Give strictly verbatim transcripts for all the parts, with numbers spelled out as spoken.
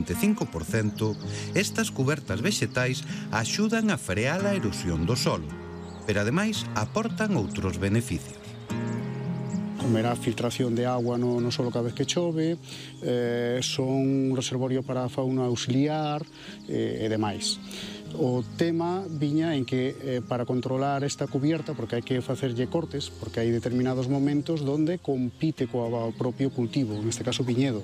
vinte e cinco por cento, estas cubertas vexetais axudan a frear a erosión do solo, pero ademais aportan outros beneficios. Como era a filtración de agua no, no solo cada vez que chove, eh, son un reservorio para a fauna auxiliar eh, e demais. O tema viña en que eh, para controlar esta cubierta, porque hai que facerlle cortes, porque hai determinados momentos donde compite coa propio cultivo, neste caso viñedo,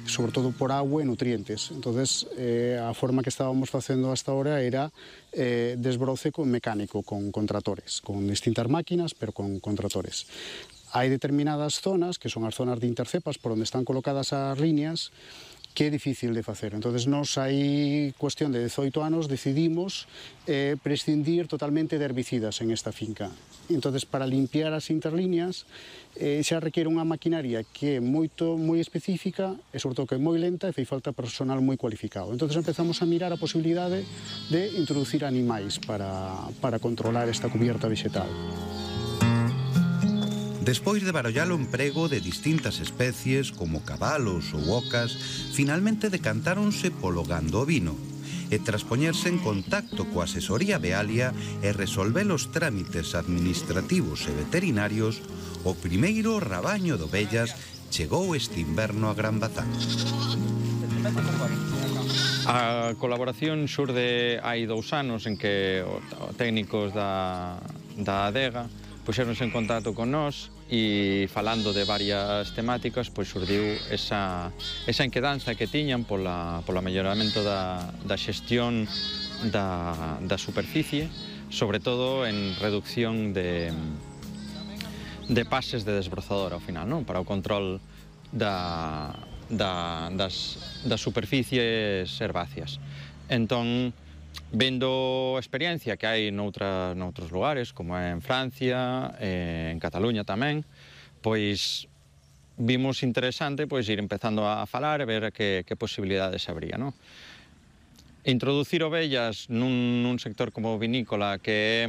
sobre todo por agua e nutrientes. Entonces, eh, a forma que estábamos facendo hasta ahora era eh, desbroce con mecánico, con, con tratores, con distintas máquinas, pero con, con tratores. Hai determinadas zonas, que son as zonas de intercepas, por onde están colocadas as líneas, que é difícil de facer. Entonces, nos hai cuestión de dezoito anos decidimos eh, prescindir totalmente de herbicidas en esta finca. Entonces, para limpiar as interlíneas eh, xa requiere unha maquinaria que é moito, moi específica e, sobre todo, que é moi lenta e fai falta personal moi cualificado. Entonces, empezamos a mirar a posibilidade de introducir animais para, para controlar esta cubierta vegetal. Despois de barallar o emprego de distintas especies, como cabalos ou ocas, finalmente decantáronse polo gando ovino, e tras poñerse en contacto coa asesoría Vealia e resolver os trámites administrativos e veterinarios, o primeiro rabaño de ovellas chegou este inverno a Gran Bazán. A colaboración xurde hai dous anos en que técnicos da, da adega puxeronse en contacto con nós e falando de varias temáticas, pois xurdiu esa, esa inquedanza que tiñan pola, pola melloramento da, da xestión da, da superficie, sobre todo en reducción de, de pases de desbrozador ao final, non? Para o control da, da, das, das superficies herbáceas. Entón, vendo a experiencia que hai noutra, noutros lugares, como é en Francia, eh, en Cataluña tamén, pois vimos interesante pois ir empezando a falar e ver que, que posibilidades habría, non? Introducir ovellas nun, nun sector como vinícola que é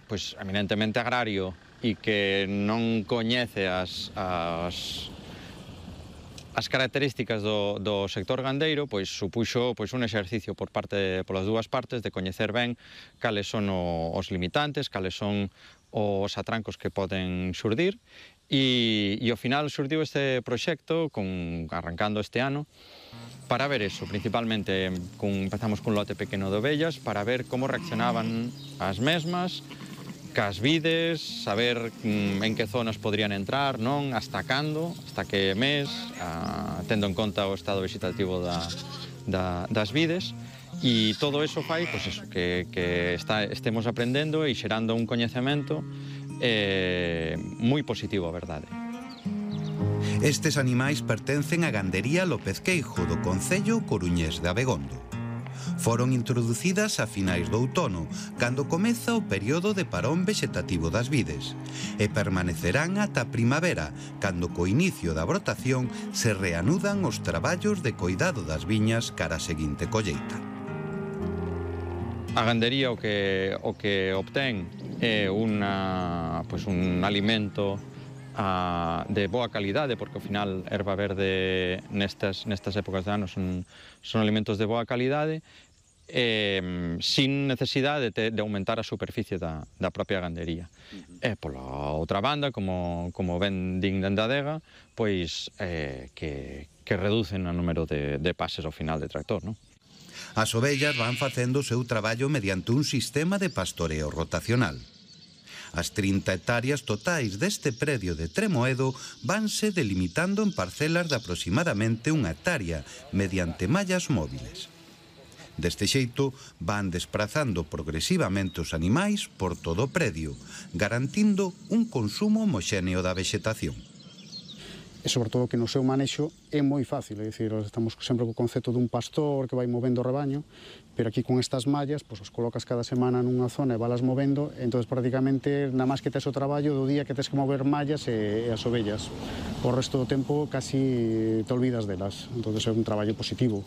pois, eminentemente agrario e que non coñece as, as As características do, do sector gandeiro pois supuxo pois un exercicio por parte polas dúas partes de coñecer ben cales son o, os limitantes, cales son os atrancos que poden xurdir e, e ao final xurdiu este proxecto con, arrancando este ano para ver eso, principalmente con, empezamos cun lote pequeno de ovellas para ver como reaccionaban as mesmas cas vides, saber mm, en que zonas podrían entrar, non, hasta cando, hasta que mes, a, tendo en conta o estado vegetativo da, da, das vides, e todo eso fai, pois eso, que, que está, estemos aprendendo e xerando un coñecemento eh, moi positivo, a verdade. Estes animais pertencen á gandería López Queijo do concello coruñés de Abegondo. Foron introducidas a finais do outono, cando comeza o período de parón vegetativo das vides, e permanecerán ata a primavera, cando co inicio da brotación se reanudan os traballos de coidado das viñas cara a seguinte colleita. A gandería o que, o que obtén é una, pues un alimento a, de boa calidade, porque ao final erva verde nestas, nestas épocas de ano son, son alimentos de boa calidade, eh, sin necesidade de, de aumentar a superficie da, da propia gandería. Uh-huh. E pola outra banda, como, como ben din dende a adega, pois eh, que, que reducen o número de, de pases ao final de tractor, non? As ovellas van facendo o seu traballo mediante un sistema de pastoreo rotacional. As trinta hectáreas totais deste predio de Tremoedo vanse delimitando en parcelas de aproximadamente unha hectárea mediante mallas móviles. Deste xeito, van desprazando progresivamente os animais por todo o predio, garantindo un consumo homoxéneo da vexetación. E, sobre todo, que no seu manexo é moi fácil, é dicir, estamos sempre co concepto dun pastor que vai movendo o rebaño, pero aquí con estas mallas, pois os colocas cada semana nunha zona e valas movendo, entón, prácticamente, nada máis que tes o traballo do día que tes que mover mallas e, e as ovellas. O resto do tempo, casi te olvidas delas, entón é un traballo positivo.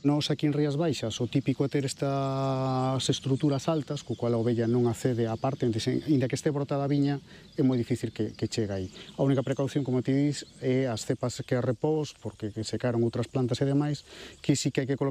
Nos aquí en Rías Baixas o típico é ter estas estruturas altas co cual a ovella non accede á parte, inda que este brotada a viña é moi difícil que, que chegue aí. A única precaución, como ti dis, é as cepas que a repós, porque que secaron outras plantas e demais, que sí que hai que colocar